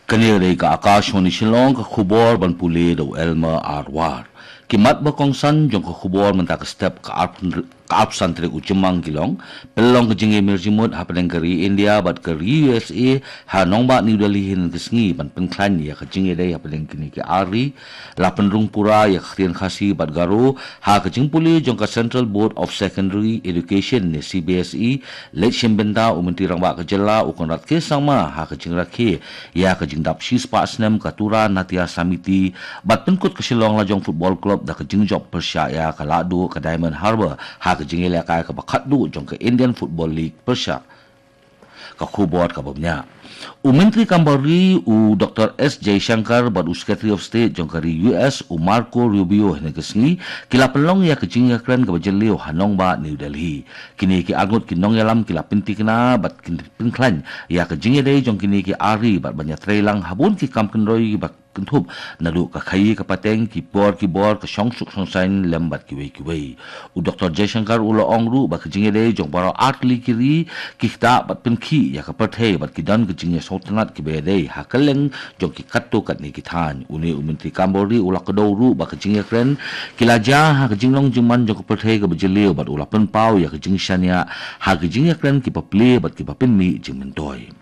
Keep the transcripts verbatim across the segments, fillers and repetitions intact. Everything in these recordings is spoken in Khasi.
Kane dei ka Akashvani Shillong, ka khubor ban pule da u Elmer Arwar. Ki mat ba kongsan jong ka khubor mynta ka step ka arphew, ka arphew san tarik u Jymmang ki long: pynlong ka jingïamir jingmut hapdeng ka ri India bad ka ri U S A ha nongbah New Delhi hynnin ka sngi ban pynkhlaiñ ïa ka jingïadei hapdeng kine ki ar ri. La pynrung pura ïa ka ktien Khasi bad Garo ha ka jingpule jong ka Central Board of Secondary Education ne C B S E. Leit shim bynta u Myntri Rangbah ka jylla u Conrad K Sangma ha ka jingrakhe ïa ka jingdap shispah snem ka Tura Natya Samiti bad pynkut ka Shillong Lajong Football Club da ka jingjop pyrshah ïa ka Lahduh ka Diamond Harbour ha ka jingïalehkai kaba khatduh jong ka Indian Football League pyrshah. Ka khubor kaba bniah. U Myntri Kam Bar Ri u Doctor S Jaishankar bad u Secretary of State jong ka ri U S u Marco Rubio hynnin ka sngi ki la pynlong ïa ka jingïakren kaba jylliew ha nongbah New Delhi. Kine ki arngut ki nongïalam ki la pyntikna bad ki pynkhlaiñ ïa ka jingïadei jong kine ki ar ri bad ban ïatreilang ha bun ki kam kynroi ba kynthup naduh ka khaïi ka pateng, ki por ki bor, ka shongsuk shongsaiñ lem bad kiwei kiwei. U Doctor Jaishankar u la ong ruh ba ka jingïadei jong baroh ar tylli ki ri ki ktah bad pynkhih ïa ka pyrthei bad ki don ka jingïasngewtynnat kiba ïadei ha kylleng jong ki katto katne ki thaiñ. Une u Myntri Kam Bar Ri u la kdew ruh ba ka jingïakren ki la jia ha ka jinglong jingman jong ka pyrthei kaba jylliew bad u la pynpaw ïa ka jingshaniah ha ka jingïakren kiba plie bad kiba pynmih jingmyntoi.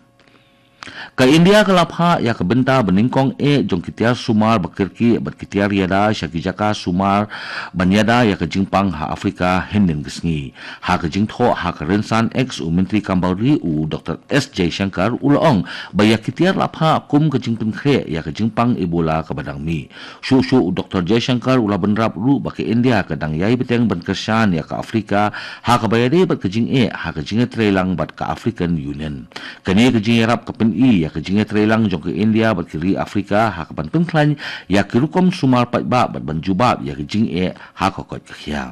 Ka India ka la phah ïa ka bynta ba nyngkong eh jong ki tiar sumar ba kyrkieh bad ki tiar ïada sha ki jaka sumar ban ïada ïa ka jingpang ha Afrika hynnin ka sngi. Ha ka jingthoh ha ka rynsan X u Myntri Kam Bar Ri u Doctor S Jaishankar u la ong ba ïa ki tiar la phah kum ka jingpynkhreh ïa ka jingpang Ebola kaba dang mih. Shuh shuh u Doctor Jaishankar u la bynrap ruh ba ka India ka dang ïai bteng ban kyrshan ïa ka Afrika ha kaba ïadei bad ka jingeh ha ka jingïatreilang bad ka African Union. Kane ka jingïarap ka pyni ïa ka jingïatreilang jong ka India bad ki ri Afrika ha kaban pynkhlaiñ ïa ki rukom sumar paidbah bad ban jubab ïa ka jingeh ha ka koit ka khiah.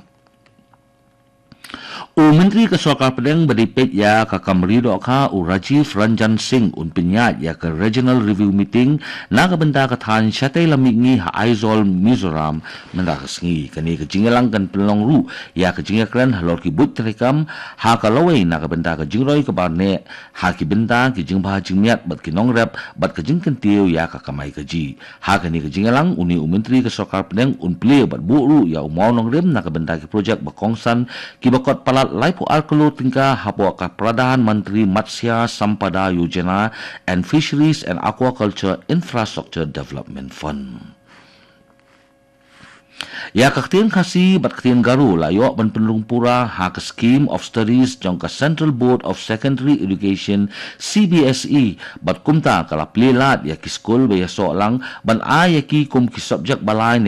U Myntri ka Sorkar Pdeng ba dei peit ïa ka kam ri dohkha u Rajiv Ranjan Singh un pynïaid ïa ka Regional Review Meeting na ka bynta ka thaiñ shatei lam mihngi ha Aizawl, Mizoram mynta ka sngi. Kane ka jingïalang kan pynlong ruh ïa ka jingïakren halor ki buit treikam ha ka lawei na ka bynta ka jingroi ka bar neh ha ki bynta ki jingbha jingmiat bad ki nongrep bad ka jingkyntiew ïa ka kamai kajih. Ha kane ka jingïalang une u Myntri ka Sorkar Pdeng un plie bad buh ruh ïa u mawnongrim na ka bynta ki projek ba kongsan kiba kot palat laiphew ar klur tyngka hapoh ka Pradhan Mantri Matsya Sampada Yojana and Fisheries and Aquaculture Infrastructure Development Fund. Ïa ka ktien Khasi bad ktien Garo la ïoh ban pynrung pura ha ka Scheme of Studies jong ka Central Board of Secondary Education, C B S E, bad kumta ka la plie lad ïa ki skul ba ïasoh lang ban ai ïa ki kum ki subject ba lai ne